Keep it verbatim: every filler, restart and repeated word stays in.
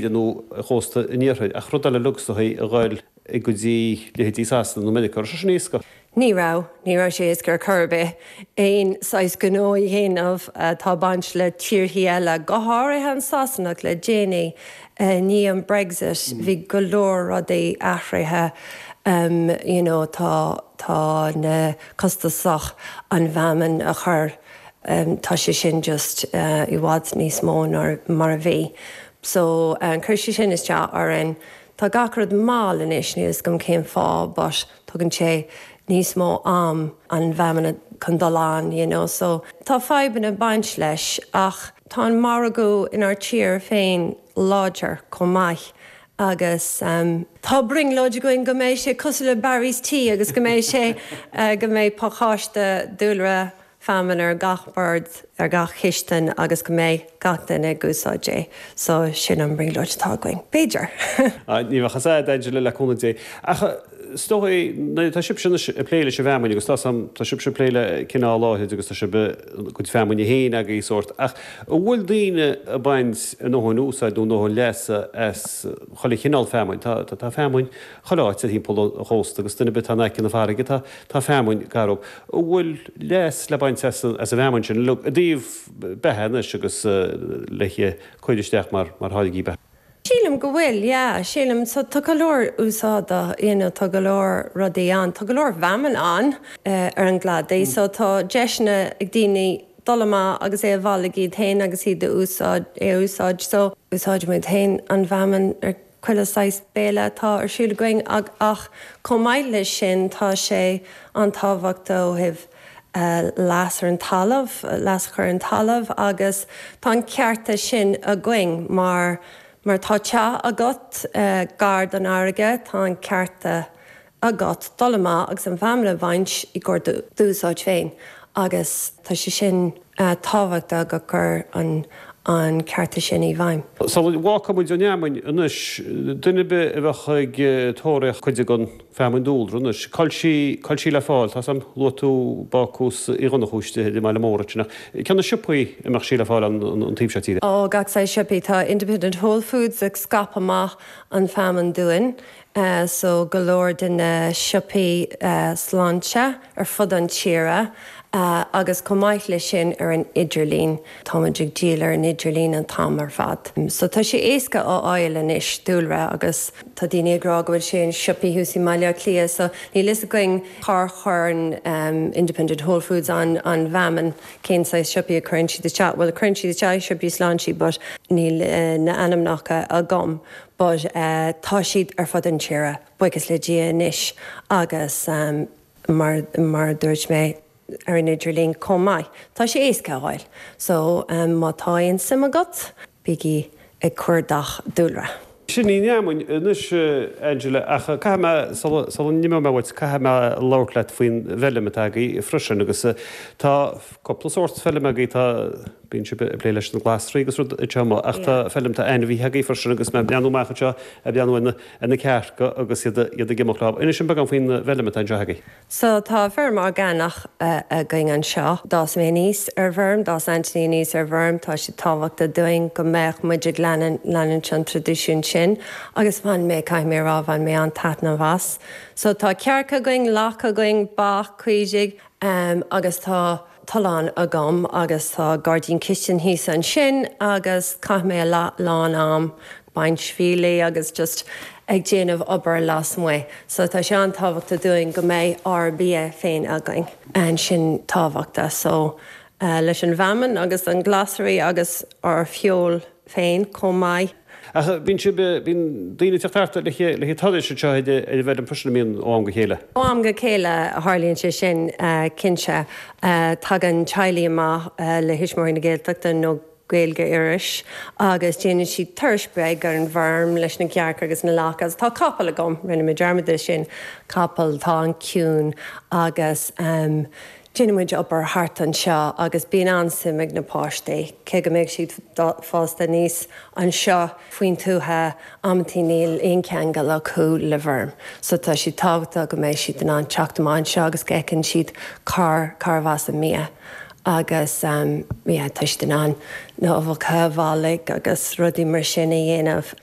Nó chósta an iarthair, ach rud eile uilig is dóichí a ghoil go dtí leithéidí Sasana nó Meiriceá. Raibh sé sin éasca? Ní raibh, ní raibh sé éasca ar chor ar bith. Aon saghas gnó a dhéanamh atá baint le tíorthaí eile, go háirithe an Sasanach le déanaí i ndiaidh an Brexit, bhí go leor rudaí athraithe um, you know, tá tá na costasach an bhfeamainn a chur um, tá sé sin just uh, i bhfad níos mó ná mar a bhí. So um, chuir sé sin isteach orainn. Tá gach rud mall anois níl a fhios agam cén fáth, but tugann sé níos mó am an bhfeamainn chun dul ann, you know, so tá fadhbanna baint leis ach tá an margadh inár tír féin láidir chomh maith. agus um, tá brionglóid againn go mbeidh sé cosúil le Barry's Tea agus go mbeidh sé uh, go mbeidh pacáiste dúlra feamainn ar gach bord ar gach chistin agus go mbeidh gach duine ag úsáid é, so sin an brionglóid atá againn. B'fhéidir. Ní bheadh as Angela le cúnamh Dé. Ach is dóichí tá sibh ag plé leis an bhfeamainn agus tá tá sibh ag plé le cineál áirid agus tá sibh cuid feamainne féin agaibh sórt ach an bhfuil daoine ag baint a ndóthain úsáid nó ndóthain leasa as chuile chineál feamainn tá tá feamainn chuile áit ar thimpeall an chósta agus duine atá in aice na farraige tá tá feamainn gar dóibh. An bhfuil leas le baint as as an bhfeamainn sin i dtaobh beatha anois agus le cur isteach mar mar tháirgí beatha. Sílim go bhfuil, yeah, sílim so tá go leor úsáide you know, tá go leor rudaí ann, tá go leor feamainn ann uh, ar an gcladach, mm. so tá deiseanna ag daoine dul amach agus é a bhailiú iad féin agus iad a úsáid é úsáid so úsáid muid féin an bhfeamainn ar chuile saghas béile atá ar siúl againn ag ach chomh maith leis sin tá sé an-tábhachtach ó thaobh uh, leas ar an talamh, leas chur an talamh agus tá an cearta sin againn mar mar tá teach agat uh, gar don fharraige tá an cearta agat dul amach agus an bhfeamainn a bhaint i gcomhair d'úsáid féin agus tá sé sin uh, tábhachtach go gur an an cearta sin i bhfeidhm. Sula bhfágfaidh muid an fheamainn anois duine a bheadh ag tóraíocht cuid den fheamainn dúlra anois. Cá bhfuil sí cá bhfuil sí le fáil tá sam luú báús i gonnachúiste i mai mór sinna. Cé na siopaí a mbeadh sí le fáil an an taobh seo tíre. Ó gach saghas siopaí tá Independent Whole Foods ag scaipeadh amach an fheamainn dúinn. Uh, so go leor de na siopaí uh, sláinte ar fud an tíre uh, agus chomh maith leis sin ar an idirlíon Táimid ag díol ar an idirlíon an t-am ar fad. So tá sé éasca á fháil anois dúlra agus tá daoine ag rá go bhfuil sé in siopaí thuas i mBaile Átha Cliath, so níl a fhios againn cá chuireann um, Independent Whole Foods an an bhfeamainn cén saghas siopaí a chuireann siad isteach, well cuireann siad isteach siopaí sláinte, but níl uh, na ainmneacha agam. But uh, tá siad ar fud an tíre, buíochas le Dia anois agus um, mar, mar dúirt mé ar an idirlíon chomh maith. Tá sé éasca a fháil, so um, má tá aon suim agat, bígí ag cuardach dúlra. Sin í an fheamainn anois Angela ach caithfidh mé sula n-imeoidh mé uait caithfidh mé labhairt leat faoin bhfeirm atá agaibh freisin agus tá cúpla sórt feirm agaibh tá bíonn sibh ag plé leis na glasraí agus rud teama ach tá feirm tá ainmhithe agaibh freisin agus mé breathnú amach anseo ag breathnú ar na cearca agus iad iad ag imeacht leo. Inis beagán faoin bhfeirm atá anseo agaibh. So tá feirm orgánach uh, againn anseo. D'fhás mé aníos ar bhfeirm, d'fhás Anthony aníos ar bhfeirm, tá sé tábhachtach dúinn go mbeadh muid ag leanúint an traidisiún sin, agus bhain mé caithfidh mé rá bhain mé an-taitneamh as. So tá cearca againn, lacha againn, ba, caoirigh um, agus tá tollán agam agus tá gairdín cistine thíos ansin agus caithim mé a lán am baint fiailí agus just ag déanamh obair lasmuigh. So tá sé an-tábhachtach dúinn go mbeidh ár bia féin againn. An sin tábhachtach so uh, leis an bhfeamainn agus an glasraí agus ár feoil féin chomh maith. Ach bíonn si bíonn daoine ag teacht le le turais seo ar an bhfeirm freisin bíonn ó am go chéile. Ó am go chéile a tharlaíonn sé sin uh, cinnte uh, tagann teaghlaigh amach uh, le Tuismitheoirí na Gaeltachta nó Gaeilge Iorrais agus déanann siad turas beag ar an bhfeirm leis na cearca agus na lacha agus tá capall agam rinne mé dearmad de sin capall tá an-chiúin agus um, Déanann muid obair thart anseo agus bíonn an-suim ag na páistí, cé go mbeidh siad fásta aníos anseo faoin tuath amantaí níl aon cheangal acu le feirm. So tá sé tábhachtach go mbeidh siad in ann teacht amach anseo agus go bhfeiceann siad cár cárbh as an mbia. agus um, yeah, tá siad in ann na huibheacha a bhailiú agus rudaí mar sin a dhéanamh.